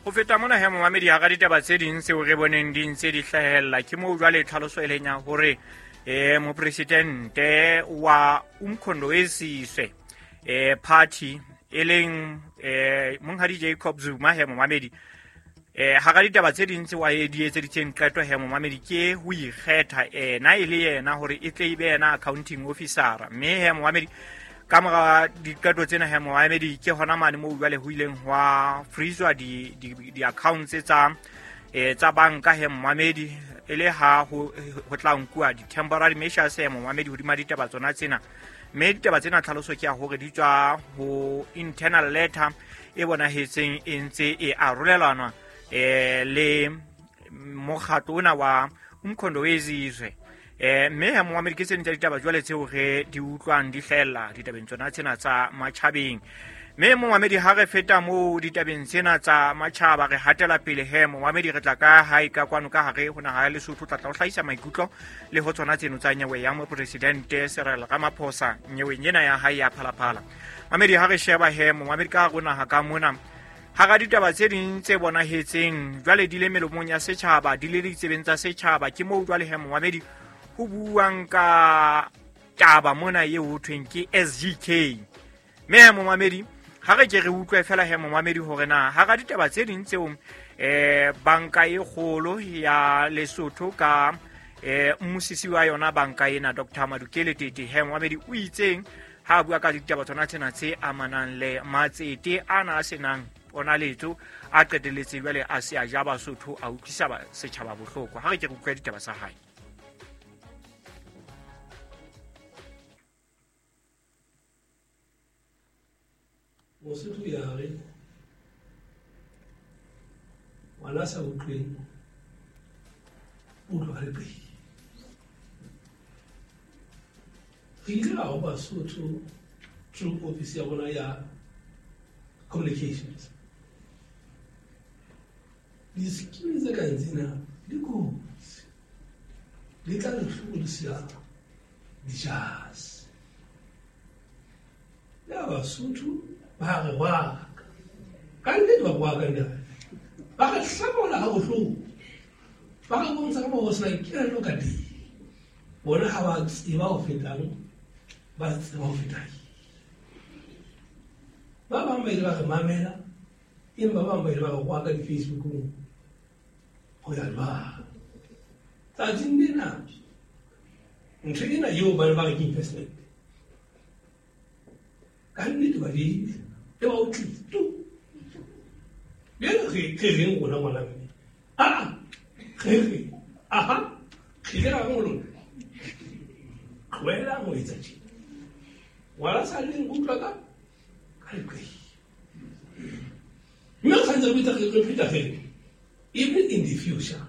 Ho feta mona he momamedi, hara ditaba tse ding tseo re boneng di ntse di hlahella, ke moo jwale tlhaloso e leng ya hore mopresidente wa Umkhonto weSizwe party e leng monghadi Jacob Zuma he momamedi, hara ditaba tse ding tseo a di etseditseng qeto he momamedi, ke ho ikgetha ena e le yena hore e tle e be yena accounting officer. Mme he momamedi, ka mora diqeto tsena he momamedi, ke hona mane moo jwale ho ileng hwa freezwa di-accounts tsa banka he momamedi, e le ha ho tla nkuwa di-temporary measures he momamedi hodima ditaba tsona tsena. Mme ditaba tsena tlhaloso ke ya hore di tswa ho internal letter e bonahetseng e ntse e arolelanwa le mokgatlo ona wa Umkhonto weSizwe. Mme he momamedi, ke tse ding tsa ditaba jwale tseo re di utlwang di hlahella ditabeng tsona tsena tsa matjhabeng. Mme momamedi, ha re feta moo ditabeng tsena tsa matjhaba, re hatela pele he momamedi, re tla ka hae ka kwano ka hare ho naha ya Lesotho, tla tla ho hlahisa maikutlo le ho tsona tseno tsa nyewe ya mopresidente Cyril Ramaphosa nyeweng ena ya hae ya Phalaphala. Mamedi, ha re sheba he momamedi ka hare ho naha ka mona, hara ditaba tse ding tse bonahetseng jwale di le melomong ya setjhaba, di le ditsebeng tsa setjhaba, ke moo jwale he momamedi ho buang ka taba mona eo ho thweng ke SGK. Mme he momamedi, ha re ke re utlwe fela he momamedi hore na hara ditaba tse ding tseo banka e kgolo ya Lesotho ka mmusisi wa yona banka ena Dr. Madukele Tete he momamedi o itseng ha a bua ka ditaba tsona tsena tse amanang le matsete ana a senang ponaletso a qetelletse jwale a se a ja Basotho, a utlwisa setjhaba bohloko. Ha re ke re utlwe ditaba tsa hae. Mosotho ya re ngwana sa utlweng utlwa le pele. Re ile ra ho Basotho through office ya rona ya communications. Di-scheme tse kang tsena di kotsi, di tla re hlokodisa dijase. Ya Basotho ba re rwaka, ka nnete ba rwaka ntate, ba re hlabola ha bohloko, ba re bontsha ka moo ho sena kelello ka teng. Bona ha ba tseba ho fetang, ba tseba ho fetang. Ba bang ba ile ba re mamela, empa ba bang ba ile ba re rwaka di-Facebookong ho ya jwang. Tsatsing lena, ntho ena eo ba ne ba re ke investment, ka nnete ba diile, e ba o tlile tu. Bjale re reng rona ngwana mme? Aa, re re, aha, re ile ra reng ho lona? Tlohelang ho etsa tjena. Ngwana sa leng utlwa ka leqe. Mme re santse re bitsa re pheta re re, even in the future,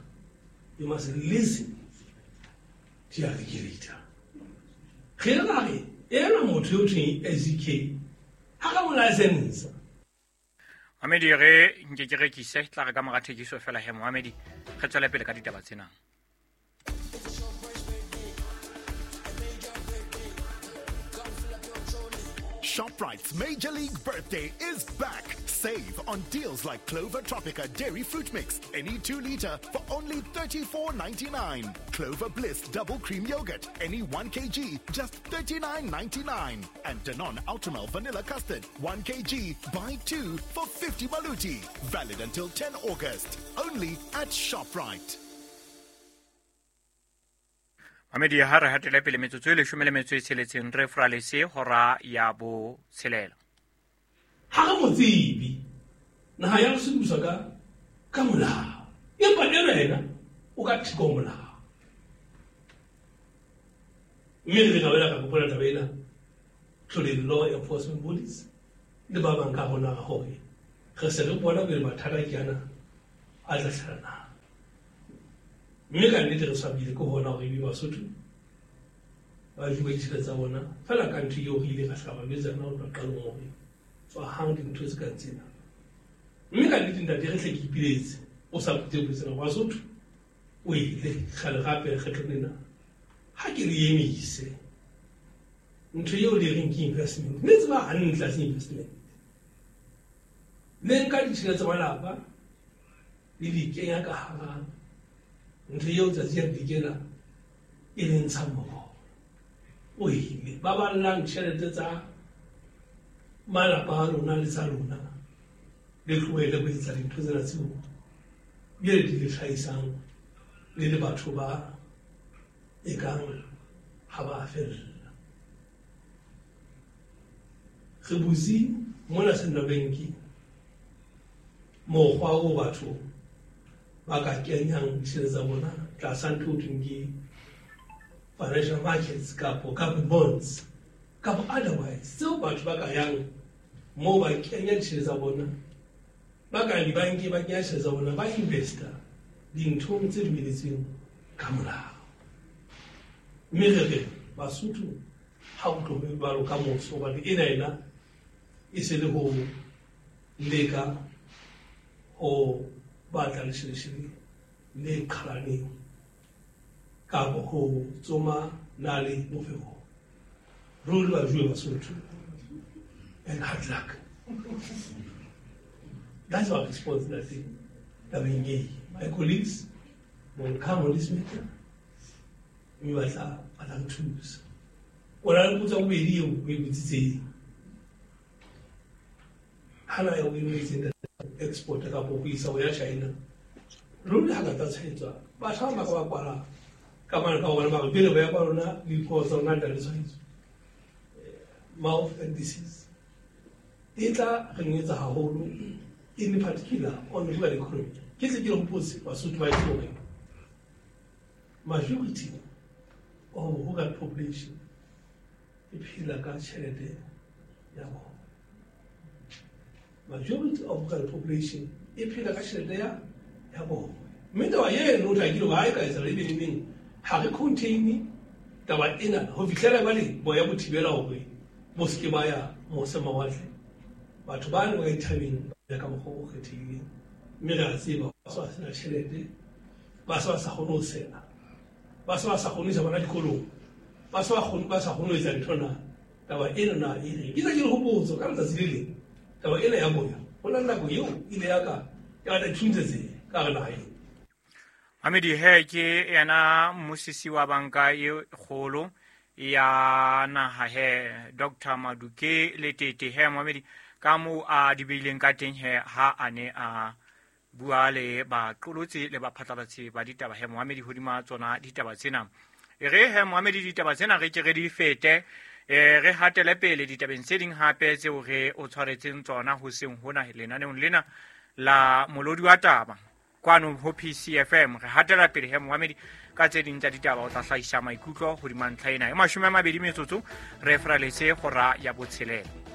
you must listen to your regulator. Re ile ra re, ena motho eo thweng SGK, ha ka mo license. Mamedi, re nke ke rekise, tla re ka mora thekiso fela he momamedi, re tswele pele ka ditaba tsena. ShopRite's Major League Birthday is back. Save on deals like Clover Tropica Dairy Fruit Mix, any 2 liter for only $34.99. Clover Bliss Double Cream Yogurt, any 1 kg, just $39.99. And Danone Ultramel Vanilla Custard, 1 kg, buy 2 for 50 maluti. Valid until 10 August. Only at ShopRite. Mamedi, ha re hatele pele, metsotso e 16 re fralese hora ya 6. Ha re mo tsebe, naha ya Lesotho buswa ka molao, empa ena yena o ka theko ho molao. Mme re ka boela ka gopola taba ena through the law enforcement bodies le ba bang ka rona hore re se re bona pele mathata ke ana a tla hlaha na. Mme ka nnete re swabile ke hona hore ebe Basotho ba jowe ditjhelete tsa bona fela ka ntho eo re ile ra hla ba jwetsa yona ho tloha qalong hore tswahang dintho tse kang tsena. Mme ka nnete ntate, re hle ke ipiletse o sa phute tsena Basotho o ile kgale gape lekgetlong lena ha ke re emise ntho eo le reng ke investment, mme tseba hantle ha se investment. Le nka ditjhelete tsa malapa Le di kenya ka hara ntho eo tsatsi ya dikela e le ntshang moroho o ile. Ba ballang tjhelete tsa malapa a lona le tsa lona, le tlohele ho etsa dintho tsena tseo bjale di le hlahisang le le batho ba ekang ha ba fella. Re butse mona Central Bank mokgwa o batho ba ka kenyang ditjhelete tsa bona tlasa ntho ho thweng ke financial markets kapo bonds kapo otherwise, tseo batho ba ka yang moo ba kenya ditjhelete tsa bona, ba ka dibanke ba kenya tjhelete tsa bona, ba investa dinthong tse dumeletsweng ka molao. Mme re re Basotho ha o tlo jwalo ka moso, hobane ena ena e se le ho leka ho batla lesheleshele le qhalaneng kapo ho tsoma nale mofehong. Ruri ba jwe Basotho, and hard luck. That's our response that tabeng e. My colleagues will come on this matter, mme ba tla re thusa. O na le potso ya bobedi eo o e botsitseng. Hana ya o e boletseng export kapo ho isa ho ya China. Ruri ha ka tla tshwaetswa, batjha ba ka ba kwala ka mane ka hobane ba re pele ba ya kwa lona le dipuo tsa lona di na le tshwaetso. Mouth and disease e tla re nyetsa haholo, in particular on rural economy. Ke tle ke le hopotse Basotho ba hore majority of rural population e phela ka tjhelete ya bona. Majority of rural population e phela ka tjhelete ya bona. Mme taba eno o hlakile hore ha e ka etsahala ebe neneng, ha re contain taba ena ho fihlela jwale boya bo thibela hore bo se ke ba ya mose mawatle. Batho ba ne ba dithabeng ba ka mokgwa o kgethehileng, mme re a tseba ba se ba sena tjhelete, ba se ba sa kgone ho sela, ba se ba sa kgone ho isa bana dikolong, ba se ba sa kgone ho etsa ntho na. Taba ena na e reng? Ke tla ke le hopotso ka letsatsi le leng, taba ena ya boya, ho na le nako eo ile ya ka ya batla dithuntse tse ka hare naha ena. Mamedi he ke yena mmusisi wa banka e kgolo ya naha he Dr. Maduke Letete he Mamedi ka moo a di beileng ka teng he ha a ne a bua le baqolotsi le baphatlalatsi ba ditaba he Mohamedi hodima tsona ditaba tsena. E re he Mohamedi ditaba tsena re ke re di fete, re hatele pele ditabeng tse ding hape tseo re o tshwaretseng tsona hoseng hona lenaneong lena la molodi wa taba kwano ho PCFM. Re hatela pele he Mohamedi ka tse ding tsa ditaba, o tla hlahisa maikutlo hodima ntlha ena. E 20 metsotso re fraletse hora ya 6.